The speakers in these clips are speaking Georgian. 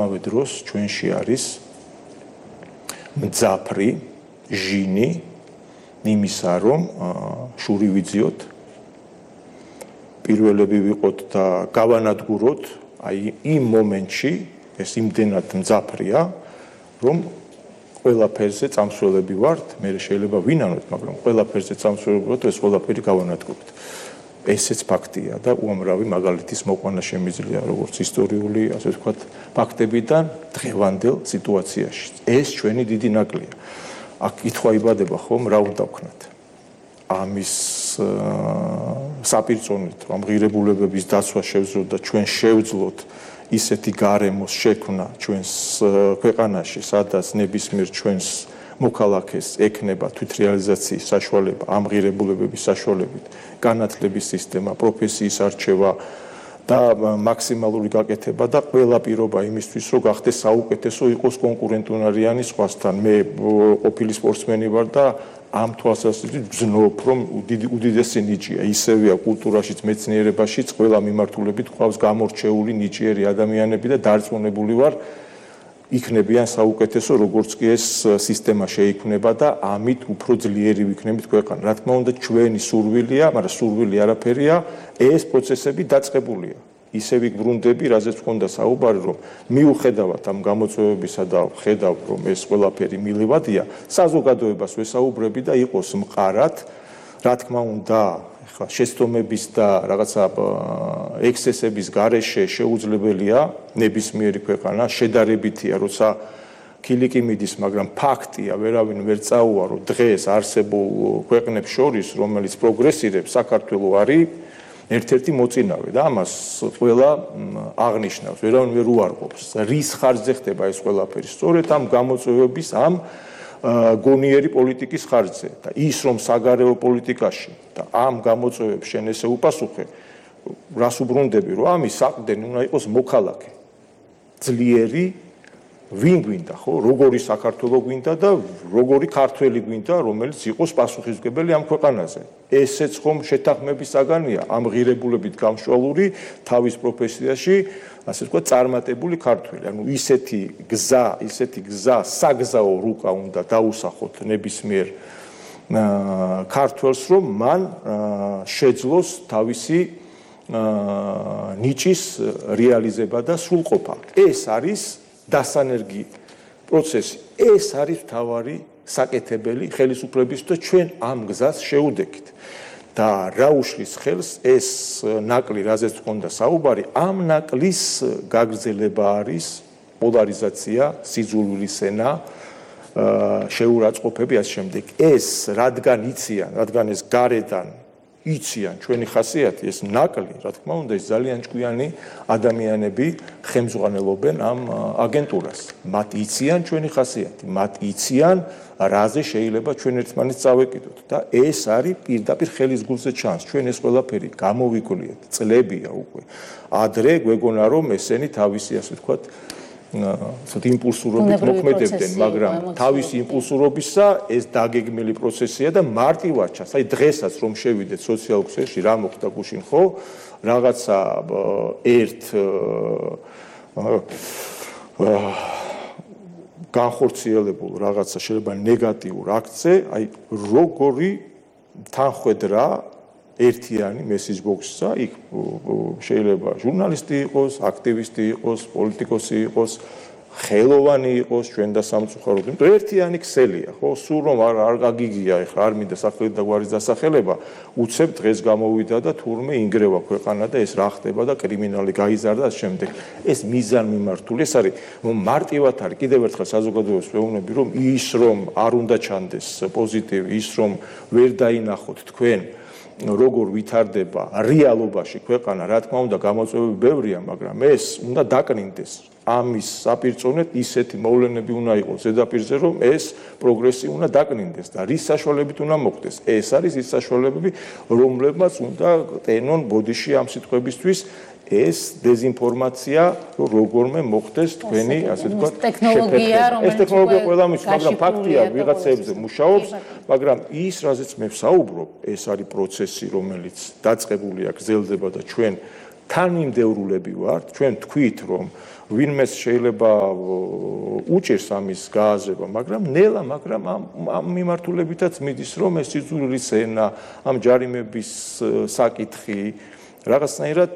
ამავე დროს ჩვენში არის მძაფრი ჟინი იმისა, რომ შური ვიძიოთ, პირველები ვიყოთ და გავანადგუროთ, აი იმ მომენტში ეს იმდენად მძაფრია, რომ ყველაფერზე წამსვლელები ვართ, მე შეიძლება ვინანოთ, მაგრამ ყველაფერზე წამსვლელები ვართ, ეს ყველაფერი გავანადგუროთ. ესეც ფაქტია და უამრავი მაგალითის მოყვანა შემიძლია როგორც ისტორიული, ასე ვთქვათ, ფაქტებიდან დღევანდელ სიტუაციაში. ეს ჩვენი დიდი ნაკლია. აქ კითხვა იბადება ხომ, რა უნდა ვქნათ? ამის საპირწონით, რომ ღირებულებების დაცვა შევძლოთ და ჩვენ შევძლოთ ისეთი გარემოს შექმნა ჩვენს ქვეყანაში, სადაც ნებისმიერ ჩვენს მოქალაქეს ექნება თვითრეალიზაციის საშუალება, ამ ღირებულებების საშუალებით, განათლების სისტემა, პროფესიის არჩევა და მაქსიმალური გაკეთება და ყველა პირობა იმისთვის, რომ გახდეს საუკეთესო, იყოს კონკურენტუნარიანი სხვასთან. მე ყოფილი სპორტსმენი ვარ და ამ თვალსაზრისით ვზნობ, რომ უდიდესი ნიჭია, ისევეა კულტურაშიც, მეცნიერებაშიც, ყველა მიმართულებით ყავს გამორჩეული ნიჭიერი ადამიანები და დარწმუნებული ვარ, იქნებიან საუკეთესო, როგორც კი ეს სისტემა შეიქმნება და ამით უფრო ძლიერი ვიქნებით ქვეყანა. რა თქმა უნდა, ჩვენი სურვილია, მაგრამ სურვილი არაფერია, ეს პროცესები დაწყებულია. ისე ვიბრუნდები, რაზეც მქონდა საუბარი, რომ მიუხედავად ამ გამოწვევებისა და ხედავ, რომ ეს ყველაფერი მილივადია, საზოგადოებას ვესაუბრები და იყოს მყარად, რა თქმა უნდა, შეცდომების და რაღაცა ექსცესების გარეშე შეუძლებელია ნებისმიერი ქვეყანა შედარებითია, როცა ქილიკი მიდის, მაგრამ ფაქტია, ვერავინ ვერ წაუარო დღეს არსებულ ქვეყნებს შორის, რომელიც პროგრესირებს, საქართველო არის ერთ-ერთი მოწინავე და ამას ყველა აღნიშნავს, ვერავინ ვერ უარყოფს. რის ხარჯზე ხდება ეს ყველაფერი? სწორედ ამ გამოწვევების, ამ გონიერი პოლიტიკის ხარჯზე და ის რომ საგარეო პოლიტიკაში და ამ გამოწვევებს შენ ესე უპასუხე, რას უბრუნდები, რომ ამის საყრდენი უნდა იყოს მოქალაქე. ძლიერი ვინ გვინდა, ხო? როგორი საქართველო გვინდა და როგორი ქართველი გვინდა, რომელიც იყოს პასუხისმგებელი ამ ქვეყანაზე. ესეც ხომ შეთანხმების საგანია, ამ ღირებულებით გამშვალული თავის პროფესიაში, ასე ვთქვათ, წარმატებული ქართველი. ანუ ისეთი გზა, საგზაო რუკა უნდა დაუსახოთ ნებისმიერ ქართველს, რომ მან შეძლოს თავისი ნიჭის რეალიზება და სრულყოფა. ეს არის დასანერგი პროცესი. ეს არის მთავარი საკეთებელი ხელისუფლების და ჩვენ ამ გზას შეუდექით. და რა უშლის ხელს ეს ნაკლი, რაზეც მქონდა საუბარი, ამ ნაკლის გაგრძელება არის პოლარიზაცია, სიძულვილის ენა, შეურაცხყოფები ასე შემდეგ. ეს რადგან იციან, რადგან ეს გარედან იციან ჩვენი ხასიათი, ეს ნაკლი, რა თქმა უნდა, ეს ძალიან ჭკვიანი ადამიანები ხემძღვანელობენ ამ აგენტურას. მათ იციან ჩვენი ხასიათი, მათ იციან რაზე შეიძლება ჩვენ ერთმანეთს წავეკიდოთ და ეს არის პირდაპირ ხელის გულზე ჩანს. ჩვენ ეს ყველაფერი გამოვიკვლიეთ, წლებია უკვე. ადრე გვეგონა რომ ესენი თავისი, ასე ვთქვათ, იმპულსურობით მოქმედებდნენ, მაგრამ თავისი იმპულსურობისა ეს დაგეგმილი პროცესია და მარტივად ჩანს. აი დღესაც რომ შევიდეთ სოციალურ ქსელში, რა მოხდა გუშინ, ხო? რაღაცა ერთ განხორციელებულ რაღაცა შეიძლება ნეგატიურ აქტზე, აი როგორი თანხვედრა ერთიანი მესეჯ ბოქსსა, იქ შეიძლება ჟურნალისტი იყოს, აქტივისტი იყოს, პოლიტიკოსი იყოს, ხელოვანი იყოს, ჩვენ და სამწუხაროდ, იმიტომ ერთიანი ქსელია, ხო? სულ რომ არ გაგიგია, ეხლა არ მინდა სახელით და გვარის დასახელება, უცებ დღეს გამოვიდა და თურმე ინგრევა ქვეყანა და ეს რა ხდება და კრიმინალი გაიზარდა და შემდეგ. ეს მიზანმიმართული, ეს არის მარტივად არის. კიდევ ერთხელ საზოგადოებას ვეუბნები, რომ ის რომ არ უნდა ჩანდეს პოზიტივი, ის რომ ვერ დაინახოთ თქვენ როგორ ვითარდება რეალობაში ქვეყანა, რა თქმა უნდა, გამოწვევები ბევრია, მაგრამ ეს უნდა დაკნინდეს. ამის საპირწონედ ისეთი მოვლენები უნდა იყოს ზედაპირზე, რომ ეს პროგრესი უნდა დაკნინდეს და რის საშუალებით უნდა მოხდეს. ეს არის ის საშუალებები, რომლებმაც უნდა ტენონ ბოდიში ამ სიტყვებისთვის ეს დეзинფორმაცია, როგორმე მოხდეს თქვენი, ასე ვთქვათ, ტექნოლოგია, ეს ტექნოლოგია ყველამის, მაგრამ ფაქტია, ვიღაცებზე მუშაობს, მაგრამ ის, რაზეც მე ვსაუბრობ, ეს არის პროცესი, რომელიც დაწყებულია, გრძელდება და ჩვენ თანმიმდევრულები ვართ, ჩვენ თქვით, რომ ვინმეს შეიძლება უჭირს ამის გააზრება, მაგრამ ნელა, მაგრამ ამ მიმართულებითაც მიდის, რომ ეს სიძულვილის ენა, ამ ჯარიმების საკითხი რაღაცნაირად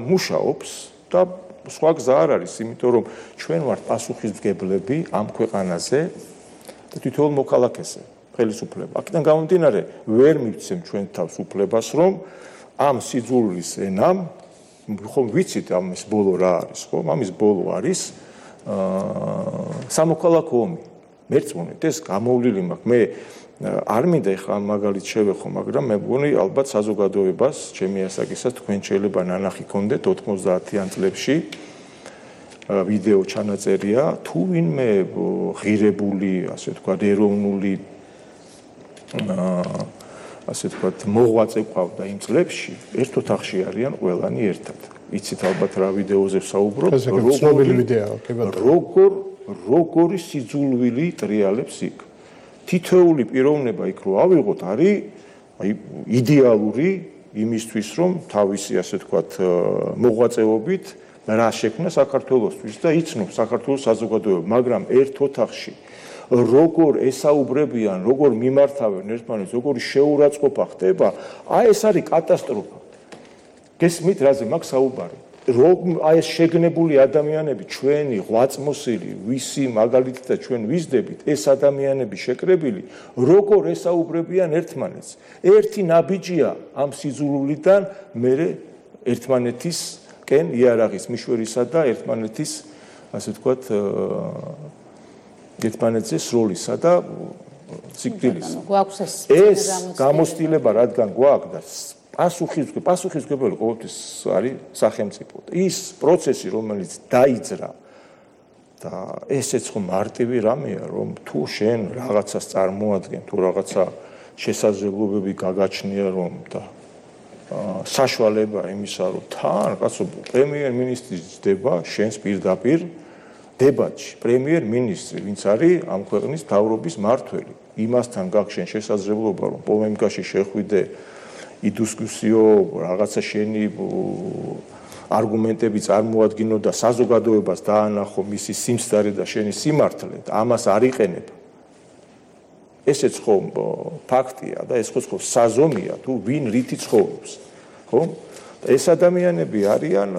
მუშაობს და სხვა გზა არ არის, იმიტომ რომ ჩვენ ვართ პასუხისმგებლები ამ ქვეყანაზე და თითოეულ მოქალაქეზე, ხელისუფლება. აქედან გამომდინარე, ვერ მივცემ ჩვენ თავს უფლებას, რომ ამ სიძულვილის ენამ ხომ ვიცით ამის ბოლო რა არის, ხო? ამის ბოლო არის სამოქალაქო ომი. მერწმუნეთ, ეს გამოვლილი მაქვს. მე არ მინდა ეხლა ამ მაგალითს შევეხო, მაგრამ მე მგონი ალბათ საზოგადოებას, ჩემი ასაკისას თქვენ შეიძლება ნანახი გქონდეთ 90-იან წლებში ვიდეო ჩანაწერია, თუ ვინმე ღირებული, ასე ვთქვათ, ეროვნული ასე ვთქვათ, მოღვაწე ყავდა იმ წლებში, ერთ ოთახში არიან ყველანი ერთად. იცით ალბათ რა ვიდეოზე ვსაუბრობ, როგორი სიძულვილი ტრიალებს იქ. თითოეული პიროვნება იქ რო ავიღოთ, არის იდეალური იმისთვის, რომ თავისი ასე ვთქვათ, მოღვაწეობით რა შექმნა საქართველოსთვის და იცნობს საქართველოს საზოგადოება, მაგრამ ერთ ოთახში როგორ ესაუბრებიან, როგორ მიმართავენ ერთმანეთს, როგორი შეურაცხყოფა ხდება, ეს არის კატასტროფა. გესმით, რაზე მაქვს საუბარი? ეს შეგნებული ადამიანები, ჩვენი ღვაწმოსილი, ვისი მაგალითად ჩვენ ვიზდებით, ეს ადამიანები შეკრებილი, როგორ ესაუბრებიან ერთმანეთს. ერთი ნაბიჯია ამ სიძულვილიდან მერე ერთმანეთისკენ იარაღის მიშვერისა და ერთმანეთის, ასე ვთქვათ, ერთმანეთზე სროლისა და სიკვდილისა. ეს გამოცდილება რადგან გვაქვს და პასუხისმგებელი ყოველთვის არის სახელმწიფო. ის პროცესი, რომელიც დაიძრა და ესეც ხო მარტივი რამეა, რომ თუ შენ რაღაცას წარმოადგენ, თუ რაღაცა შესაძლებლობები გაგაჩნია, რომ და საშუალება იმისა, რომ თან კაცო პრემიერ-მინისტრი ძდება შენს პირდაპირ დებატში, პრემიერ-მინისტრი, ვინც არის ამ ქვეყნის მთავრობის მმართველი, იმასთან გაქვს შენ შესაძლებლობა, რომ პოლემიკაში შეხვიდე იდისკუსიო რაღაცა შენი არგუმენტები წარმოადგინო და საზოგადოებას დაანახო მისი სიმსტარე და შენი სიმართლე და ამას არ იყენებ. ესეც ხომ ფაქტია და ეს ხო საზომია თუ ვინ რითი ცხოვრობს, ხო? ეს ადამიანები არიან,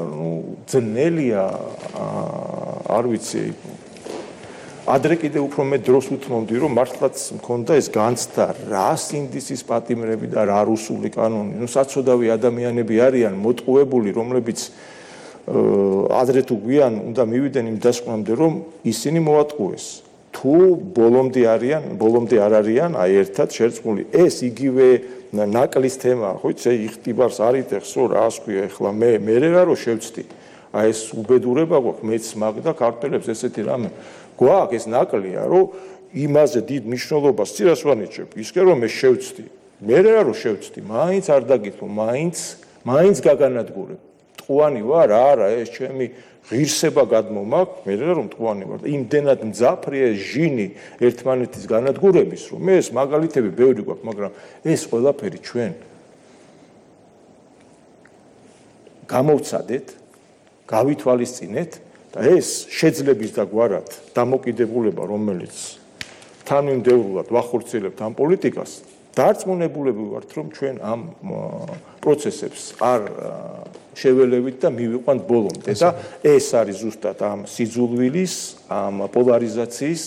ძნელია, არ ვიცი, ადრე კიდე უფრო მე დროს უთმობდი, რომ მართლაც მქონდა ეს განცდა, რა სინდისის პატიმრები და რა რუსული კანონი. საცოდავი ადამიანები არიან მოტყუებული, რომლებიც ადრე თუ გვიან უნდა მივიდნენ იმ დასკვნამდე, რომ ისინი მოატყუეს. თუ ბოლომდე არ არიან, აი ერთად შერწყმული. ეს იგივე ნაკლის თემა, ხო იცი, იხტიბარს არიტეხსო, რას ქვია ეხლა მე რა რო შევწდი. აი ეს უბედურება გვაქვს, მეც მაგდა ქართველებს ესეთი რამე. გვაქვს ეს ნაკლია, რომ იმაზე დიდ მნიშვნელობას წირას ვანიჭებ, ისე რომ მე შევწდი. მე რა რო შევწდი, მაინც არ დაგითმო, მაინც გაგანადგურებ. ტყუანი ვარ, არა, ეს ჩემი ღირსება გადმომაქვს, მე რა რომ ტყუანი ვარ. იმდენად მძაფრია ეს ჟინი ერთმანეთის განადგურების, რომ მე ეს მაგალითები ბევრი გვაქვს, მაგრამ ეს ყველაფერი ჩვენ გამოვცადეთ, გავითვალისწინეთ და ეს შეძლების და გვარად დამოკიდებულება, რომელიც თანმიმდევრულად ვახორციელებთ ამ პოლიტიკას, დარწმუნებულები ვართ, რომ ჩვენ ამ პროცესებს არ შეველევით და მივიყვანთ ბოლომდე და ეს არის ზუსტად ამ სიძულვილის, ამ პოლარიზაციის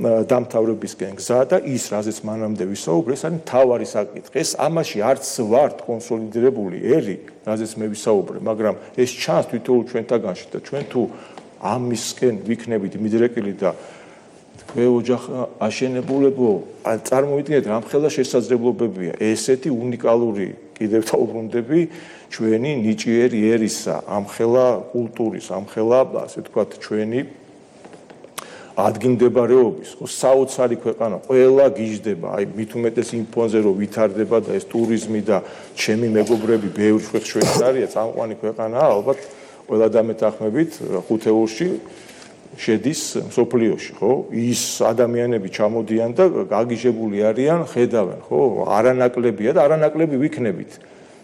დამთავრებისკენ გზა და ის, რაზეც მანამდე ვისაუბრე, ეს არის მთავარი საკითხი. ეს ამაში არც ვართ კონსოლიდირებული ერი, რაზეც მე ვისაუბრე, მაგრამ ეს ჩანს თითოეულ ჩვენთაგანში და ჩვენ თუ ამისკენ ვიქნებით მიდრეკილი და თქვენ ოჯახ აშენებულებო, წარმოვიდგინეთ, რამხელა შესაძლებლობებია ესეთი უნიკალური კიდევ დაუბრუნდები ჩვენი ნიჭიერი ერისა, ამხელა კულტურის, ამხელა, ასე ვთქვათ, ჩვენი ადგილმდებარეობის, საოცარი ქვეყანა, ყველა გიждდება, აი მით უმეტეს იმ ფონზე რომ ვითარდება და ეს ტურიზმი და ჩემი მეგობრები ბევრი შვეიცარია, წამყვანი ქვეყანაა, ალბათ ყველა დამეთანხმებით ხუთეულში შედის მსოფლიოში, ხო? ის ადამიანები ჩამოდიან და გაგიჟებული არიან, ხედავენ, ხო? არანაკლებია და არანაკლები ვიქნებით.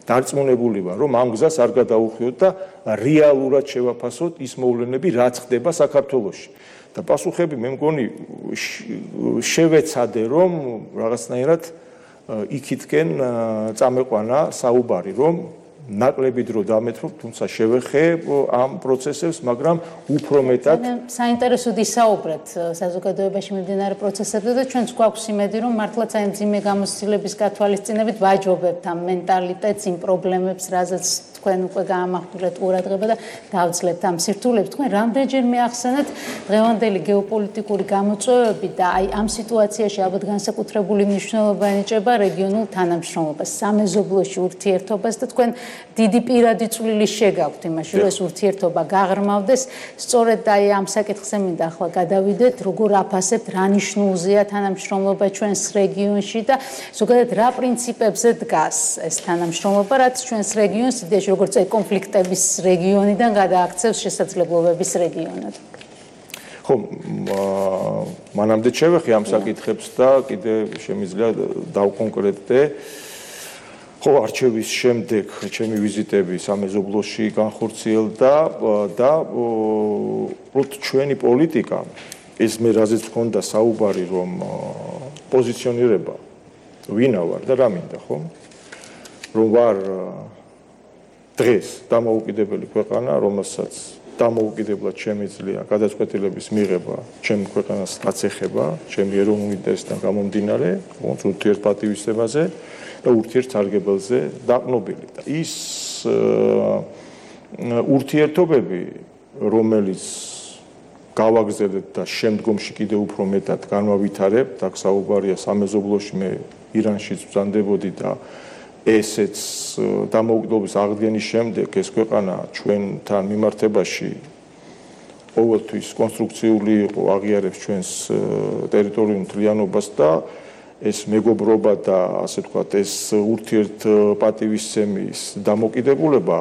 დარწმუნებული ვარ, რომ ამ გზას არ გადაუხვიოთ და რეალურად შევაფასოთ ის მოვლენები, რაც ხდება საქართველოში. და პასუხები მე მგონი შევეცადე, რომ რაღაცნაირად იქითკენ წამეყვანა საუბარი, რომ ნაკლები დრო დამეთრობ, თუმცა შევეხე ამ პროცესებს, მაგრამ უფრო მეტად საინტერესოდ ისაუბრეთ საზოგადოებაში მიმდინარე პროცესებზე და ჩვენც გვაქვს იმედი, რომ მართლაც აი მძიმე გამოცდილების გათვალისწინებით ვაჯობებთ ამ მენტალიტეტს, იმ პრობლემებს, რაზეც თქვენ უკვე გაამახვილეთ ყურადღება და დავძლევთ ამ სირთულეებს. თქვენ რამდენჯერ მიახსენეთ დღევანდელი გეოპოლიტიკური გამოწვევები და აი ამ სიტუაციაში ალბათ განსაკუთრებული მნიშვნელობა ენიჭება რეგიონულ თანამშრომლობას, სამეზობლოში ურთიერთობას და თქვენ დიდი პირადი წვლილი შეგაქვთ იმაში, რომ ეს ურთიერთობა გაღრმავდეს. სწორედ აი ამ საკითხზე მინდა ახლა გადავიდეთ, როგორ აფასებთ, რა ნიშნულზეა თანამშრომლობა ჩვენს რეგიონში და ზოგადად რა პრინციპებზე დგას ეს თანამშრომლობა, რაც ჩვენს რეგიონს იდეაში როგორც კონფლიქტების რეგიონიდან გადააქცევს შესაძლებლობების რეგიონად. ხო, მანამდე შევეხე ამ საკითხებს და კიდე შემიძლია დავკონკრეტდე. ხო, არჩევის შემდეგ ჩემი ვიზიტები სამეზობლოში განხორციელდა და უბრალოდ ჩვენი პოლიტიკა, ეს მე რაზეც მქონდა საუბარი, რომ პოზიციონირება ვინა ვარ და რა მინდა, ხო? რომ ვარ დღეს დამოუკიდებელი ქვეყანა, რომელსაც დამოუკიდებლად შემიძლია გადაწყვეტილების მიღება ჩემ ქვეყანას აწეხება, ჩემი ეროვნული ინტერესიდან გამომდინარე, ურთიერთპატივისცემაზე და ურთიერთსარგებელზე დაყნობილი. და ის ურთიერთობები, რომელიც გავაგზავნეთ და შემდგომში კიდევ უფრო მეტად განვავითარებთ, აქ საუბარია სამეზობლოში, მე ირანშიც ვზანდებოდი და ესეც დამოუკიდებლობის აღდგენის შემდეგ ეს ქვეყანა ჩვენთან მიმართებაში ყოველთვის კონსტრუქციული იყო, აღიარებს ჩვენს ტერიტორიულ მთლიანობას და ეს მეგობრობა და ასე ვთქვათ, ეს ურთიერთპატივისცემის დამოკიდებულება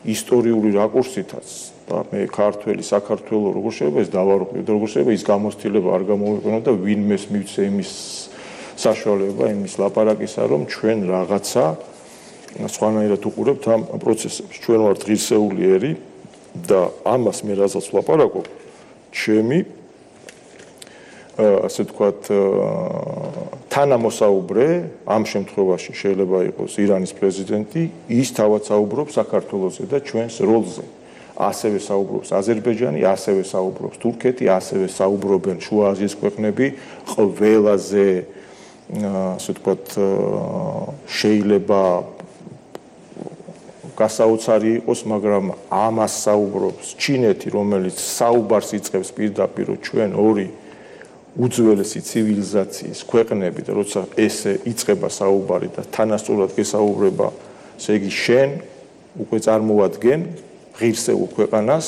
ისტორიული რაკურსითაც და მე ქართველი საქართველოს როგორ შეიძლება ეს დავარღვიო და როგორ შეიძლება ის გამოცდილება არ გამოვიყენო და ვინმეს მივცე იმის საშუალება, იმის ლაპარაკისა, რომ ჩვენ რაღაცა სხვანაირად უყურებთ ამ პროცესებს. ჩვენ ვართ ღირსეული ერი და ამას მე რასაც ვლაპარაკობ, ჩემი ასე ვთქვათ, თანამოსაუბრე ამ შემთხვევაში შეიძლება იყოს ირანის პრეზიდენტი, ის თავად საუბრობს საქართველოსზე და ჩვენს როლზე. ასევე საუბრობს აზერბაიჯანი, ასევე საუბრობს თურქეთი, ასევე საუბრობენ შუა აზიის ქვეყნები, ყველაზე ასე ვთქვათ, შეიძლება გასაოცარი იყოს, მაგრამ ამას საუბრობს ჩინეთი, რომელიც საუბარს იწყებს პირდაპირ ჩვენ ორი უძველესი ცივილიზაციის ქვეყნები და როცა ესე იწყება საუბარი და თანასწორად გესაუბრება, ესე იგი შენ უკვე წარმოადგენ ღირსეულ ქვეყანას,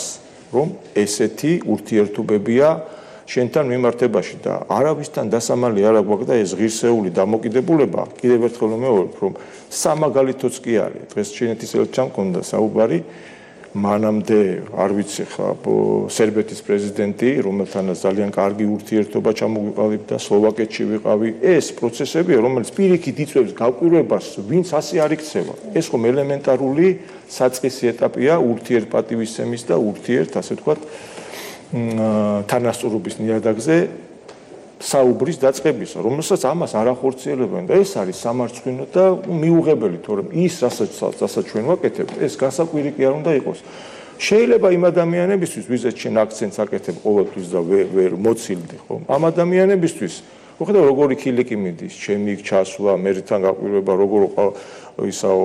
რომ ესეთი ურთიერთობებია შენთან მიმართებაში და არავისთან დასამალი არ აქვს და ეს ღირსეული დამოკიდებულება კიდევ ერთხელ ვიმეორებ, რომ სამაგალითოც კი არის. დღეს ჩინეთის ელჩთან მქონდა საუბარი, მანამდე არ ვიცი ხა სერბეთის პრეზიდენტი, რომელთანაც ძალიან კარგი ურთიერთობა ჩამოგვიყალიბდა, სლოვაკეთში ვიყავი. ეს პროცესებია, რომელიც პირიქით იწვევს გავკვირვებას, ვინც ასე არ იქცევა. ეს ხომ ელემენტარული საწყისი ეტაპია ურთიერთპატივისცემის და ასე ვთქვათ, თანასწორობის ნიადაგზე საუბრის დაწყებისა, რომელსაც ამას არ ახორციელებენ და ეს არის სამარცხვინო და მიუღებელი, თორემ ის რასაც ჩვენ ვაკეთებთ, ეს გასაკვირი კი არ უნდა იყოს. შეიძლება იმ ადამიანებისთვის, ვიზეთ შენ აქცენტს აკეთებ ყოველთვის და ვერ მოცილდი, ხო? ამ ადამიანებისთვის, მოხდა როგორი ქილიკი მიდის, ჩემი იქ ჩასვლა, მერთან გაყვირვება, როგორ ისაო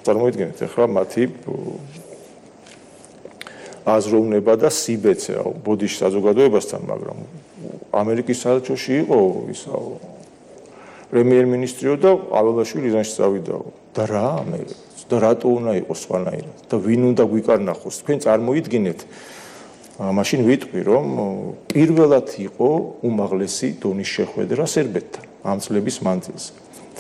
წარმოიდგინეთ ახლა მათი აზროვნება და სიბეცე ბოდიში საზოგადოებასთან, მაგრამ ამერიკის საელჩოში იყო ისაო პრემიერ-მინისტრიო და ავალაშვილი ირანში წავიდაო. და რა და რატო უნდა იყოს სხვანაირად და ვინ უნდა გვიკარნახოს? თქვენ წარმოიდგინეთ, მაშინ ვიტყვი, რომ პირველად იყო უმაღლესი დონის შეხვედრა სერბეთთან ამ წლების მანძილზე.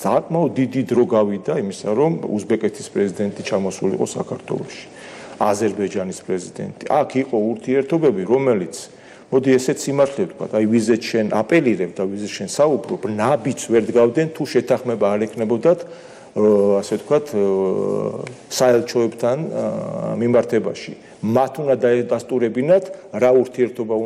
საკმაოდ დიდი დრო გავიდა იმისა, რომ უზბეკეთის პრეზიდენტი ჩამოსულიყო საქართველოში. აზერბაიჯანის პრეზიდენტი. აქ იყო ურთიერთობები, რომელიც მოდი ესეც სიმართლე ვთქვა, აი ვიზეთ შენ აპელირებ და ვიზეთ შენ საუბრობ, ნაბიჯს ვერ დგავდნენ თუ შეთანხმება არ ეკნებოდათ ასე ვთქვათ, საელჩოებთან მიმართებაში. მათ უნდა დაესტურებინათ რა ურთიერთობა